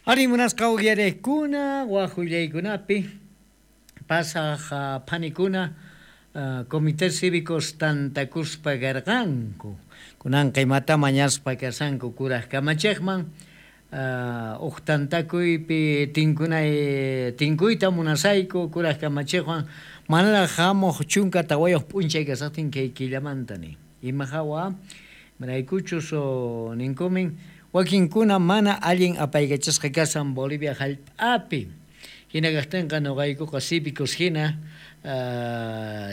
Ari munasqa uyarekuna wajullaykunapi pasaj phanikuna comités cívicos tantakuspa karqanku kunanqa imata mañaspa kashanku kuraj kamachiqman uj tantakuypi tinkunay tinkuyta munasayku kuraj kamachiqwan manaraj hamuq 14 p'unchay kasaqtin kay killamanta nin ima hawa imaraykuchus ninkumin wakinkuna mana allin apaykachasqa kashan Bolivia hallp'api hina kaqtinqa nuqaykuqa cívicos hina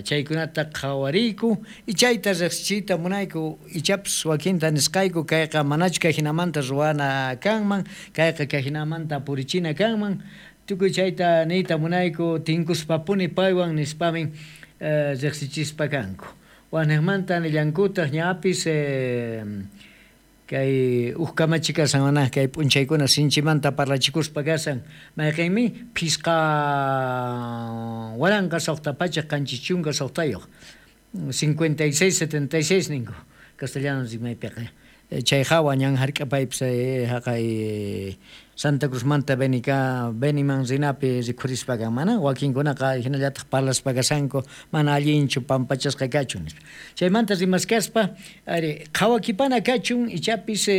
chaykunata qhawariyku y chayta riqsichiyta munayku ichapas wakinta nisqayku kayqa manachu kay hinamanta ruwana kanman kayqa kay hinamanta purichina kanman tukuy chayta niyta munayku tinkuspapuni paywan nispamin riqsichispa kanku waqniqmanta nillankutaq ñapis kay uj kamachi kasan mana kay p'unchaykuna sinchimanta parlachikuspa kasan mayqinmi 5676 5676 ninku castellano rimaypiqa chay hawa ñan hark'apaypis haqay Santa Cruzmanta Beniman rinapi rikhurispa kan mana wakinkunaqa hinallataq parlaspa kashanku mana allinchu pampachasqa kachun nispa chaymanta rimaskaspa ari qhawakipana kachun ichapis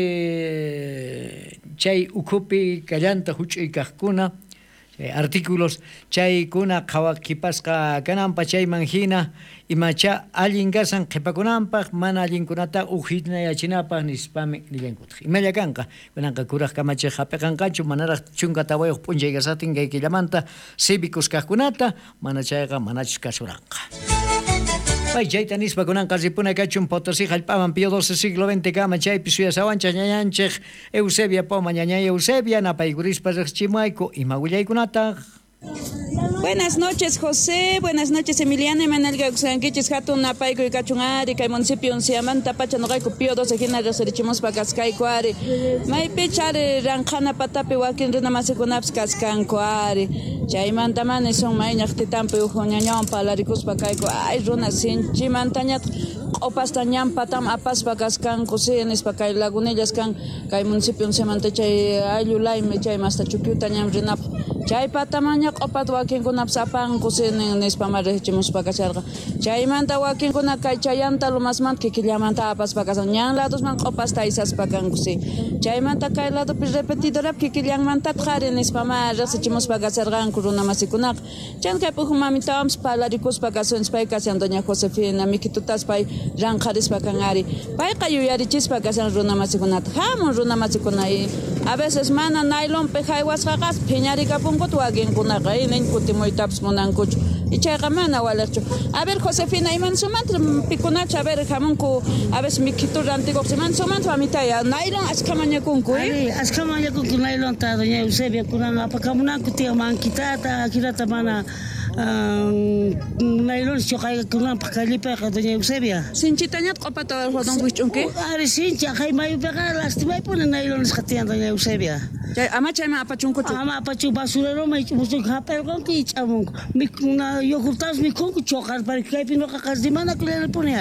chay ukhupi kallanta huch'uy kaqkuna chay artículos chaykuna qhawakipasqa kananpa chayman hina imacha allin kasan qhipakunanpaq mana allinkunata uhinayachinapaq nispami nillankutaq imalla kanqa kunanqa kuraj kamachiq hap'iqanqachu manaraq 14 p'unchay kasaqtin kay killamanta cívicos kaqkunata mana chayqa manachus kasuranqa. Pay chayta nispa kunanqa ripuna kachun Potosí hallp'aman Pío XII siglo XX kama chaypi suyasawanchaq ñañanchik Eusebia Poma ñañay Eusebia napaykurispa riqsichimuayku ima willaykunataq. Buenas noches, José. Buenas noches, Emiliano. Emanuel Gauxanquichis, Hatun, Napayco y Cachunari, kay municipio Unciamanta, Pacha, Nogayco, Pío XII, Hina, Reserichimus, Pacascaico, Ari. Maypichari, Ranjana, Patapi, Wakin, Runa, Masikunaps, Cascanco, Ari. Chaymantamani son mayñaq titampi ujuñañawan palarikuspa kayku. Ay, runa, sinchimantañataq q'upasta ñanpatam apaspa kaskanku, sí, nispa kay lagunillas kan, kay municipio Unciamanta chay ayllu laymi, chay masta chukyuta ñam rinapaq. Chay patamaña q'upata wakinkunapas apanku, sí, nispa ma riqchimuspa kasharqa. Chaymanta wakinkuna kay chayanta lumasmanta kikillamanta apaspa kasan. Ñan ladosman q'upasta aysaspa kanku, sí. Chaymanta kay ladopi repetidorap kikillanmantataq ari nispa ma riqsichimuspa kasharqanku runa masikunaqa. Chan kay p'uju mamitawanpas palarikuspa kasunchis pay kashan doña Josefina mikitutas pay ranqharispa kan ari. Payqa yuyarichispa kashan runa masikunata. Hamun runa masikuna a veces mana nailonpi haywasqaqas phiñarikapunkuta wakinkunaqa nin kutimuytapas munankuchu. Ichayqa mana waliqchu. A ver, Josefina, imansumanta pikunachu, a ver, hamunku, a veces mikitu rantikuq, imansumanta mamitaya, nailon achka mañakunku, Ari, achka mañakunku nailonta, doña Eusebia, kunan apakamunanku tiyan mankitata, akirata mana nailon choqaykunanpaq kallipayqa doña Eusebia. Sinchitañat q'upata don wich'unki? Ari, sinchi, aqhay mayupiqa lastimaypuni nailonisqa tiyan doña Eusebia. Chay ama chayman apachunkuchu? Ama apachun basureroman ich'amunku, hap'irqanku ich'amunku. Mikuna yogurtapas mikhunku choqarpari kaypi nuqaqa rimanakullanipuni.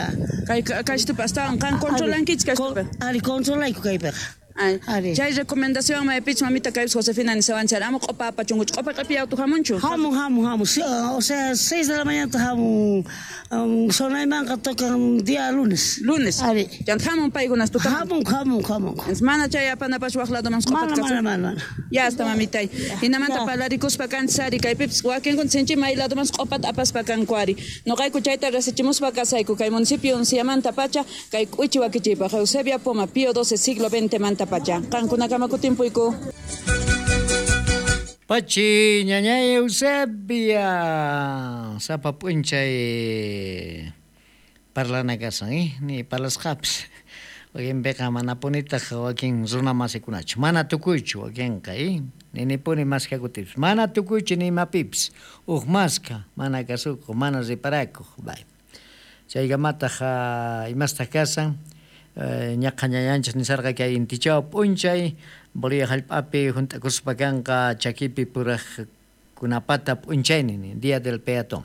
Kay kaystupi astawan qan controlankichik kaystupi? Ari, controlayku kaypiqa. Ay, chay recomendación maypich mamita kaypis Josefina nisawanchar ama q'upa apachunkuchu. Q'upa q'ipi auto hamunchu? Hamun, hamun, hamun. O sea, 6 de la mañana hamun. Sonaymanqa tocan día lunes. Lunes. Ari. Chanta hamun paykunas tuta. Hamun, hamun, hamun. Mana chay apanapash waq ladoman q'upata Mana, mana, mana. Ya hasta mamitay. Hinamanta palarikuspa kanchis ari kaypipis wakinkuna sinchi may ladoman q'upata apaspa kanku ari. Nuqayku chayta rasichimuspa kasayku kay municipio Unciamanta pacha kay k'uchi wakichiypaq Eusebia Poma Pío XII siglo XX manta pacha. Qankunakama kutimpuyku. Pachi ñañay Eusebia sapa p'unchay parlana kasan, ni parlasqapis. Wakinpiqa manapunitaq wakin runa masikunachu. Mana tukuychu wakinqa, ninipuni maskakutipis. Mana tukuychu ni imapipis. Uj maska, mana kasukuq, mana riparakuq. Bay. Chaykamataq imastaq kasan. Ñaqa ñañanchis nisarqa kay intichaw p'unchay Bolivia hallp'api hunt'akuspa kanqa chakipi puraqkunapata p'unchaynin, día del peatón.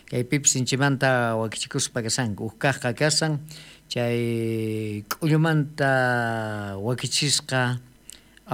Kaypipis sinchimanta wakichikuspa kasanku. Uj kaqqa kasan chay k'ullumanta wakichisqa